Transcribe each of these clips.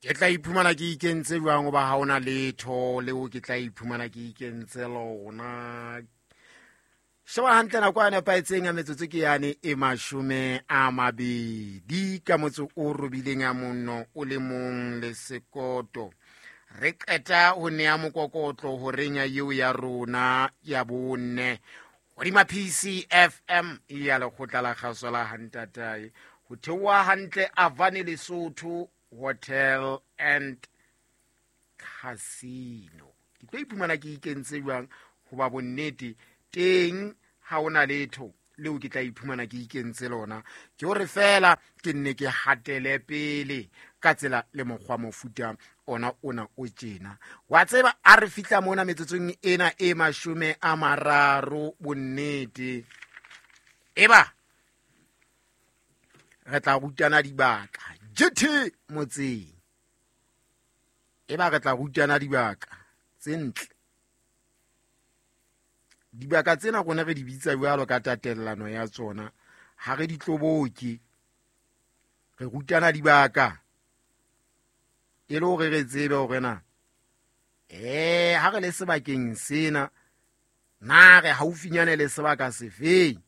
Ke tla iphumana ke ikentse jwang goba ga ona letho leo ke tla iphumana ke ikentse lona. Sheba hantle nako a nepahetseng ya metsotso ke yane e 20 ka motso o robileng ya monno o le mong le sekoto. Re qeta ho nea mokokotlo horeng ya eo ya rona ya 4 hodima PCFM ya lekgotla la kgaso la Hantatae ho theoha hantle Avane Lesotho Hotel and Casino. Ke tlo iphumana ke ikentse jwang hoba bonnete teng ha ona letho leo ke tla iphumana ke ikentse lona. Ke hore fela ke nne ke hatele pele ka tsela le mokgwa mofuta ona ona o tjena. Wa tseba a re fihla mona metsotsong ena e 30 bonnete. Eba re tla rutana dibaka JT motseng. Eba re tla rutana dibaka tse ntle. Dibaka tsena rona re di bitsa jwalo ka tatellano ya tsona, ha re di tloboke. Re rutana dibaka e le hore re tsebe hore na ha re le sebakeng sena na re haufinyane le sebaka sefeng.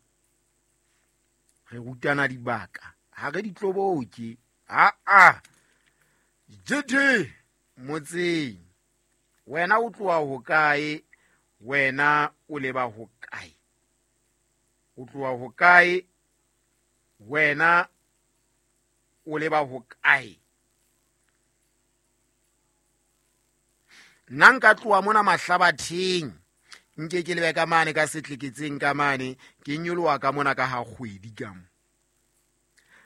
Re rutana dibaka, ha re di tloboke. A JT motseng, wena o tloha hokae? Wena o leba hokae? O tloha hokae? Wena o leba hokae? Nna nka tloha mona Mahlabatheng, nke ke lebe ka mane ka setleketseng ka mane, ke nyoloha ka mona ka ha kgwedi ka mo.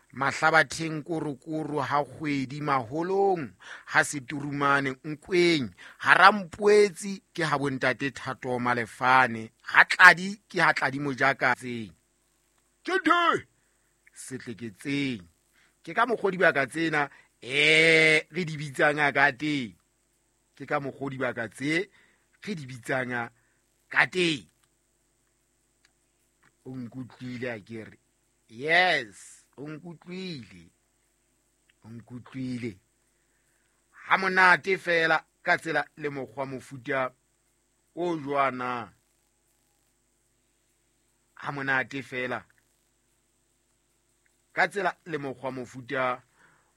Mahlabatheng korokoro ha kgwedi, maholong ha seturumane nkweng, harampoetsi ke ha bontate Thato Malefane, ha Tladi ke ha Tladi Mojakatseng. Ke setleketseng. Ke ka mokgwa dibaka tsena re di bitsang ka teng. Ke ka mokgwa dibaka tse re di bitsang ka teng. O nkutlwile a ke re? Yes, o nkutlwile. O nkutlwile. Ha monate fela ka tsela le mokgwa mofuta o jwana. Ha monate fela ka tsela le mokgwa mofuta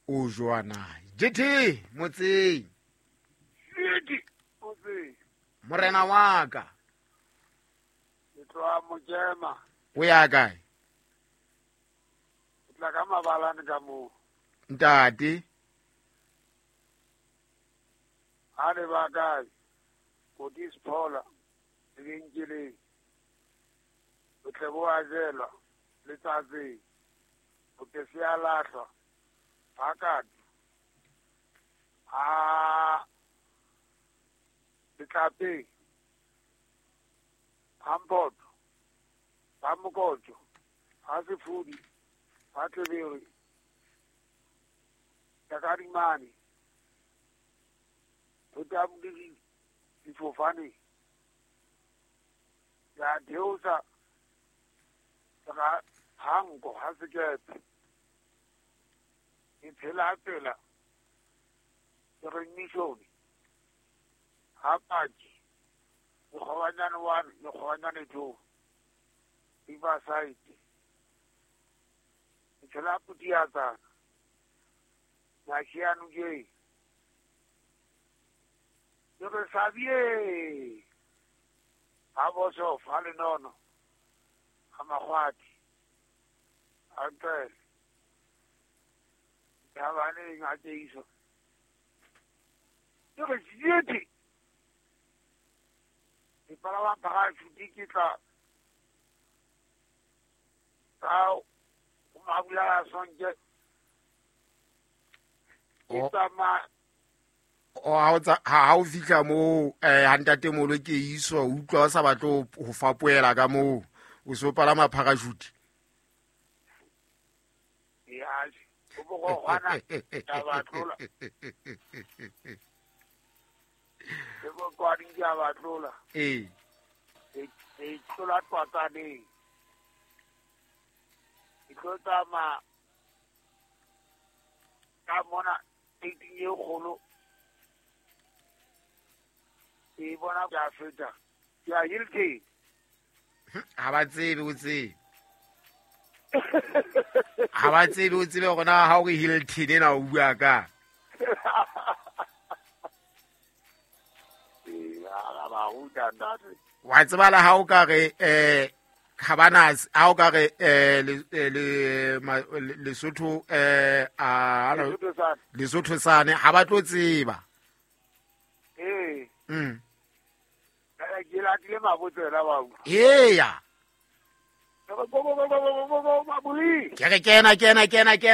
o jwana. JT motseng. JT motseng. Morena wa ka. Ke tloha Mojema. O ya kae? Ke tla ka mabalane ka moo. Ntate. Ha le ba kae? Kotis Phola, lebenkeleng. Botle bo a jelwa letsatsing. Botle se a lahlwa. Phakati. A Letlapeng. Hampoto. Ha Mokoto. Ha Sefudi. Ha Tlebere. Takadimane. Thota difofane. Ya theosa hanko ha sekepe. Ke tshela tsela. Ke re mission. Ha paki. Mokgwanyane 1, mokgwanyane 2. Riverside. Ke tshela putiatsa. Mashiano ke. Ke re sabie. Ha boso fa le nono. Ha magwati. A ntele. Ya bane nga teiso. Ke re jieti. Ke palama parachute ke tla ka mabula sonke. Ke tsamaya. O ha o fihla moo ha ntate molo ke iswa utlwa o sa batle ho fapoela ka moo o so palama parachute. Ya o bo go gwana ka batlola. Ke bo kwa di ya batlola. Ee. E tlola twatsaneng. Ke tlo tsamaya ka mona Keiting ye kgolo ke bona ke a feta ke a Hilton. Ha ba tsebe o tsebe, ha ba tsebe o tsebe gore na ha o re Hilton ena o bua ka. Ee, a ba ruta ntate. Wa tseba le ha o ka re Cabanas, ha o ka re Lesotho a Lesotho sane. Lesotho sane ha ba tlo tseba. Ee. Ke latile mabotsela ba u. Eya. Go go go go go go go mabuli. Ke re kena kena kena kena.